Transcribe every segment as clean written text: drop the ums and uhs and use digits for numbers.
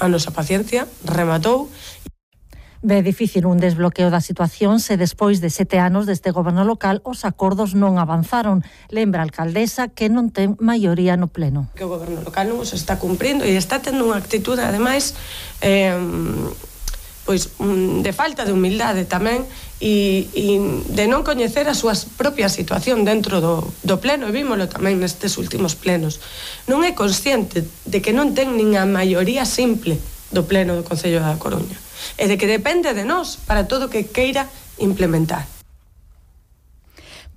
a nosa paciencia rematou. Ve difícil un desbloqueo da situación se despois de 7 anos deste goberno local os acordos non avanzaron. Lembra a alcaldesa que non ten maioría no pleno. Que o goberno local non os está cumprindo e está tendo unha actitude, ademais, de falta de humildade tamén e de non coñecer a súa propia situación dentro do pleno, e vímolo tamén nestes últimos plenos. Non é consciente de que non ten nin a maioría simple do pleno do Concello da Coruña e de que depende de nós para todo o que queira implementar.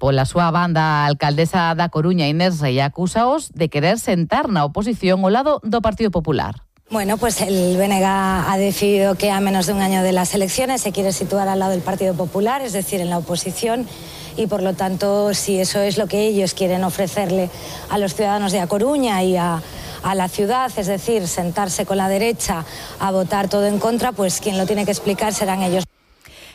Pola súa banda, a alcaldesa da Coruña, Inés Rei, acúsaos de querer sentar na oposición ao lado do Partido Popular. Bueno, pues el BNG ha decidido que a menos de un año de las elecciones se quiere situar al lado del Partido Popular, es decir, en la oposición, y por lo tanto, si eso es lo que ellos quieren ofrecerle a los ciudadanos de A Coruña y a la ciudad, es decir, sentarse con la derecha a votar todo en contra, pues quien lo tiene que explicar serán ellos.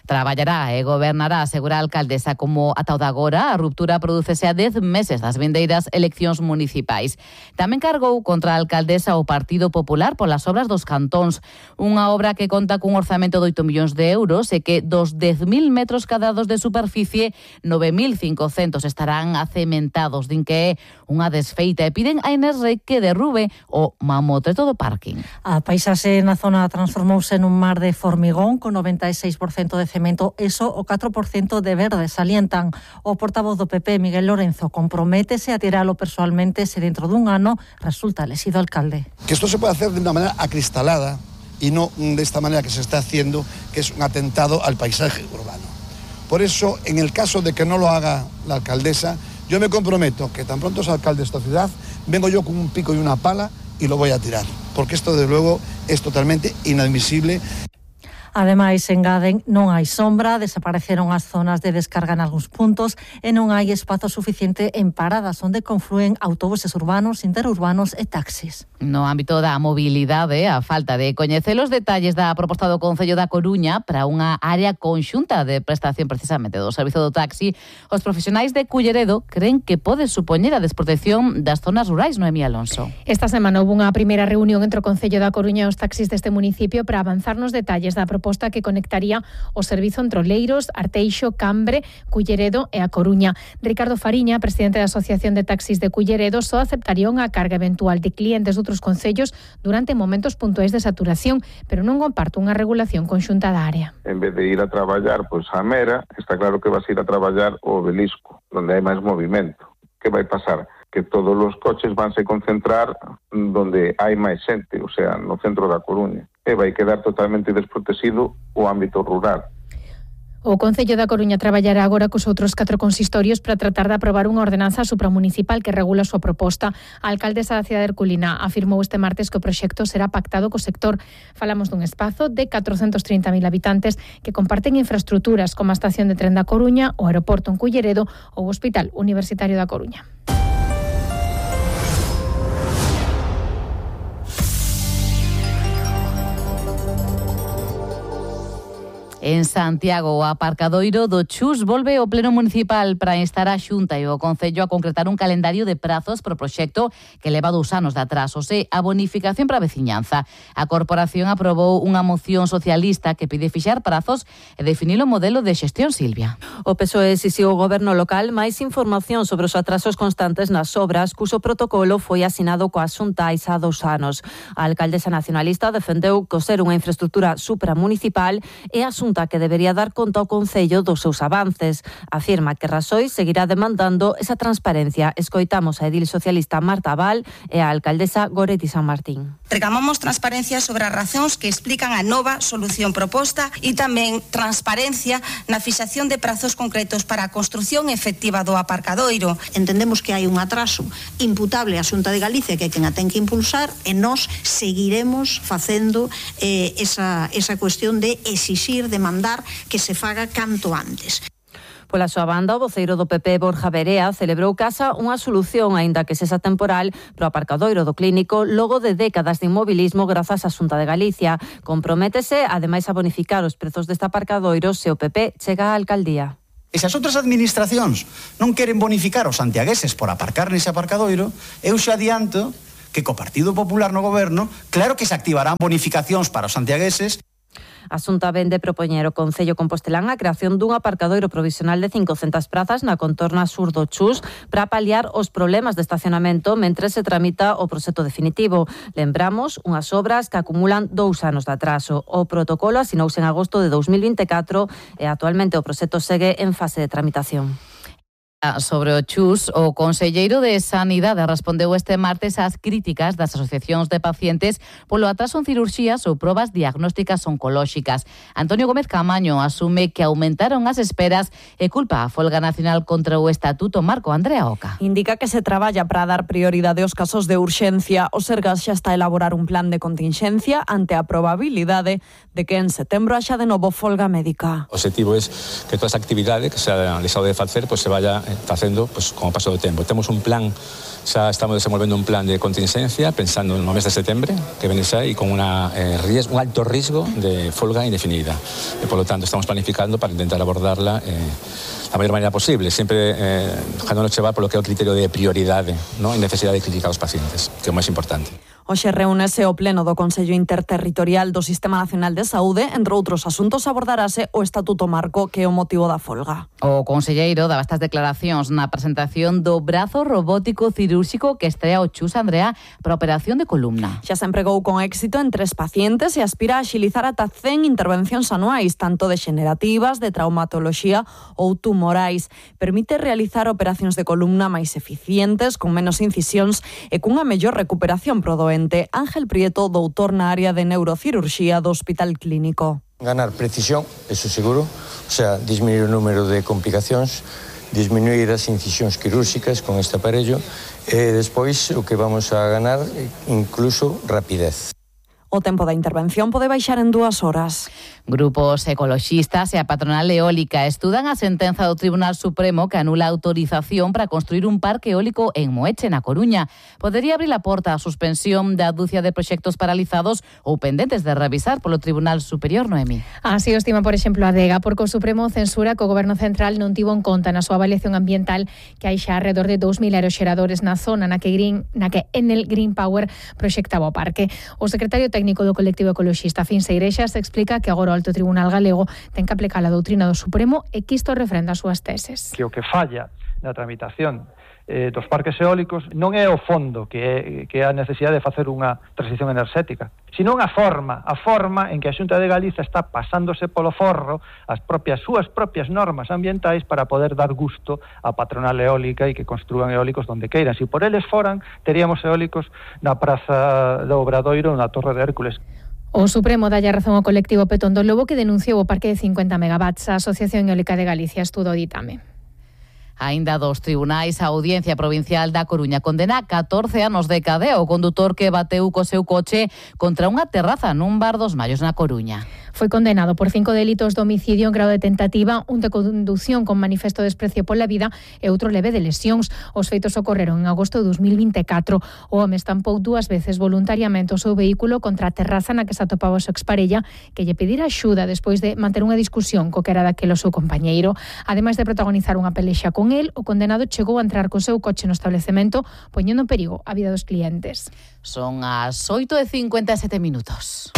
Traballará e gobernará, asegura a alcaldesa, como ata o de agora a ruptura prodúcese a 10 meses das vindeiras eleccións municipais. Tamén cargou contra a alcaldesa o Partido Popular polas obras dos cantóns, unha obra que conta cun orzamento de 8 millóns de euros e que dos 10.000 metros cadrados de superficie, 9.500 estarán acementados. Din que é unha desfeita e piden a Inés Rei que derrube o mamotreto do parking. A paisaxe na zona transformouse nun mar de formigón con 96% de cemento, eso o 4% de verde, salientan. O portavoz do PP, Miguel Lorenzo, comprométese a tiralo persoalmente se dentro dun ano resulta elegido alcalde. Que esto se puede hacer de una manera acristalada y no de esta manera que se está haciendo, que es un atentado al paisaje urbano. Por eso, en el caso de que no lo haga la alcaldesa, yo me comprometo que tan pronto sea alcalde de esta ciudad, vengo yo con un pico y una pala y lo voy a tirar, porque esto desde luego es totalmente inadmisible. Ademais, engaden, non hai sombra, desapareceron as zonas de descarga en algúns puntos e non hai espazo suficiente en paradas onde conflúen autobuses urbanos, interurbanos e taxis. No ámbito da mobilidade, a falta de coñecer os detalles da proposta do Concello da Coruña para unha área conxunta de prestación precisamente do servizo do taxi, os profesionais de Culleredo creen que pode supoñer a desprotección das zonas rurais, Noemí Alonso. Esta semana houve unha primeira reunión entre o Concello da Coruña e os taxis deste municipio para avanzar nos detalles da proposta que conectaría o servizo entre Oleiros, Arteixo, Cambre, Culleredo e A Coruña. Ricardo Fariña, presidente da Asociación de Taxis de Culleredo, só aceptaría unha carga eventual de clientes de outros concellos durante momentos puntuais de saturación, pero non comparte unha regulación conxunta da área. En vez de ir a traballar a Mera, está claro que vas a ir a traballar ao Obelisco, onde hai máis movimento. Que vai pasar? Que todos os coches vanse concentrar donde hai máis xente, o sea, no centro da Coruña. E vai quedar totalmente desprotegido o ámbito rural. O Concello da Coruña traballará agora cos outros 4 consistorios para tratar de aprobar unha ordenanza supramunicipal que regula a súa proposta. A alcaldesa da cidade de Herculina afirmou este martes que o proxecto será pactado co sector. Falamos dun espazo de 430.000 habitantes que comparten infraestruturas como a estación de tren da Coruña, o aeroporto en Culleredo ou o Hospital Universitario da Coruña. En Santiago, o aparcadoiro do Chus volve ao pleno municipal para instar a Xunta e o Concello a concretar un calendario de prazos pro proxecto que leva 2 anos de atrasos e a bonificación para a veciñanza. A corporación aprobou unha moción socialista que pide fixar prazos e definir o modelo de xestión, Silvia. O PSOE exixiu ao goberno local máis información sobre os atrasos constantes nas obras, cuxo protocolo foi asinado coa Xunta hai xa 2 anos. A alcaldesa nacionalista defendeu que ser unha infraestructura supramunicipal e a Xunta que debería dar conta ao Concello dos seus avances. Afirma que Raxoi seguirá demandando esa transparencia. Escoitamos a edil socialista Marta Val e a alcaldesa Goretti San Martín. Reclamamos transparencia sobre as razóns que explican a nova solución proposta e tamén transparencia na fixación de prazos concretos para a construción efectiva do aparcadoiro. Entendemos que hai un atraso imputable á Xunta de Galicia que é quen a ten que impulsar e nós seguiremos facendo esa cuestión de exixir, demandar que se faga canto antes. Pola súa banda, o voceiro do PP, Borja Verea, celebrou casa unha solución, aínda que sexa temporal, pro aparcadoiro do Clínico logo de décadas de inmobilismo grazas á Xunta de Galicia. Comprométese, ademais, a bonificar os prezos deste aparcadoiro se o PP chega á alcaldía. E se as outras administracións non queren bonificar os santiagueses por aparcar nese aparcadoiro, eu xa adianto que co Partido Popular no goberno, claro que se activarán bonificacións para os santiagueses. A Xunta vende propoñer o Concello Compostelán a creación dun aparcadoiro provisional de 500 prazas na contorna sur do Chus para paliar os problemas de estacionamento mentre se tramita o proxecto definitivo. Lembramos unhas obras que acumulan 2 anos de atraso. O protocolo asinouse en agosto de 2024 e actualmente o proxecto segue en fase de tramitación. Sobre o Chus, o conselleiro de Sanidade respondeu este martes ás críticas das asociacións de pacientes polo atraso en cirurxías ou probas diagnósticas oncolóxicas. Antonio Gómez Camaño asume que aumentaron as esperas e culpa a folga nacional contra o Estatuto Marco. Andrea Oca. Indica que se traballa para dar prioridade aos casos de urxencia. O Sergas xa está a elaborar un plan de continxencia ante a probabilidade de que en setembro haxa de novo folga médica. O objetivo é que toda esa actividade que se ha deixado de facer se vaya facendo como paso do tempo. Temos un plan, xa estamos desenvolvendo un plan de contingencia pensando no mes de setembro que vene xa e con un alto risco de folga indefinida. E polo tanto estamos planificando para intentar abordarla da maior maneira posible, sempre dejándonos chevar polo que é o criterio de prioridade, non? E necesidade clínica dos pacientes, que é o máis importante. Hoxe reúnese o pleno do Consello Interterritorial do Sistema Nacional de Saúde. Entre outros asuntos abordarase o Estatuto Marco, que é o motivo da folga. O conselleiro daba estas declaracións na presentación do brazo robótico cirúrxico que estrea o Chus, Andrea, para a operación de columna. Xa se empregou con éxito en 3 pacientes e aspira a axilizar ata 100 intervencións anuais, tanto degenerativas, de traumatoloxía ou tumorais. Permite realizar operacións de columna máis eficientes, con menos incisións e cunha mellor recuperación pro doente. Ángel Prieto, doutor na área de neurocirurxía do Hospital Clínico. Ganar precisión, eso seguro, o sea, disminuir o número de complicacións, disminuir as incisións quirúrxicas con este aparello e despois o que vamos a ganar incluso rapidez. O tempo da intervención pode baixar en 2 horas. Grupos ecoloxistas e a patronal eólica estudan a sentenza do Tribunal Supremo que anula a autorización para construir un parque eólico en Moeche, na Coruña. Podería abrir a porta a suspensión da dúcia de proxectos paralizados ou pendentes de revisar polo Tribunal Superior, Noemi. Así o estima, por exemplo, a DEGA, porque o Supremo censura que o Goberno Central non tivo en conta na súa avaliación ambiental que hai xa alrededor de 2.000 aeroxeradores na zona na que Enel Green Power proxectaba o parque. O secretario técnico do colectivo ecoloxista Fins Igrexas explica que agora o Alto Tribunal Galego ten que aplicar a doutrina do Supremo e que isto refrenda as súas teses. Que o que falla na tramitación dos parques eólicos non é o fondo que é a necesidade de facer unha transición enerxética, sino a forma en que a Xunta de Galicia está pasándose polo forro as súas propias normas ambientais para poder dar gusto á patronal eólica e que construan eólicos donde queiran. Se por eles foran, teríamos eólicos na Praza do Obradoiro ou na Torre de Hércules. O Supremo dalle razón ao colectivo Petón do Lobo que denunciou o parque de 50 megawatts. A Asociación Eólica de Galicia estudo o ditame. Aínda dos tribunais, a Audiencia Provincial da Coruña condena 14 anos de cadea o condutor que bateu co seu coche contra unha terraza nun bar dos Mallos na Coruña. Foi condenado por 5 delitos de homicidio en grado de tentativa, un de condución con manifesto de desprecio pola vida e outro leve de lesións. Os feitos ocorreron en agosto de 2024. O home estampou 2 veces voluntariamente o seu vehículo contra a terraza na que se atopaba o seu exparella, que lle pedira axuda despois de manter unha discusión co que era daquele o seu compañeiro. Ademais de protagonizar unha pelexa con el, o condenado chegou a entrar co seu coche no establecemento, poñendo en perigo a vida dos clientes. Son as 8:57 minutos.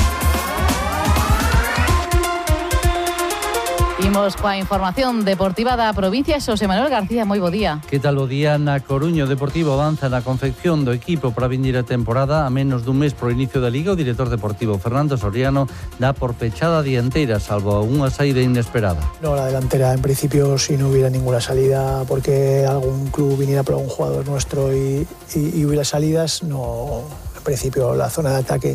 Imos coa información deportiva da provincia. Xosé Manuel García, moi bo día. Que tal o día na Coruña? O Deportivo avanza na confección do equipo para a vindeira temporada. A menos dun mes pro inicio da Liga, o director deportivo Fernando Soriano dá por pechada a dianteira, salvo unha saída inesperada. No, la delantera en principio si no hubiera ninguna salida porque algún club viniera por algún jugador nuestro y hubiera salidas, no, en principio la zona de ataque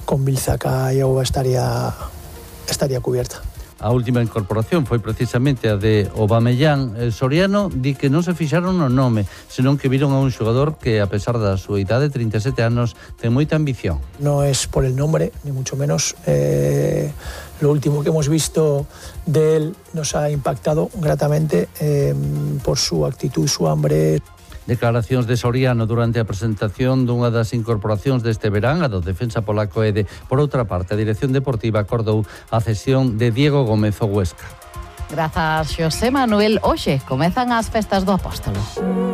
con Bilzaca y Auba estaría cubierta. A última incorporación foi precisamente a de Aubameyang. Soriano di que non se fixaron no nome, senón que viron a un xogador que, a pesar da súa idade, 37 anos, ten moita ambición. No es por el nombre, ni mucho menos. Lo último que hemos visto de él nos ha impactado gratamente por su actitud, su hambre. Declaracións de Soriano durante a presentación dunha das incorporacións deste verán, a do defensa polaco Ede. Por outra parte, a Dirección Deportiva acordou a cesión de Diego Gómez ao Huesca. Grazas, Xosé Manuel. Hoxe comezan as festas do Apóstolo.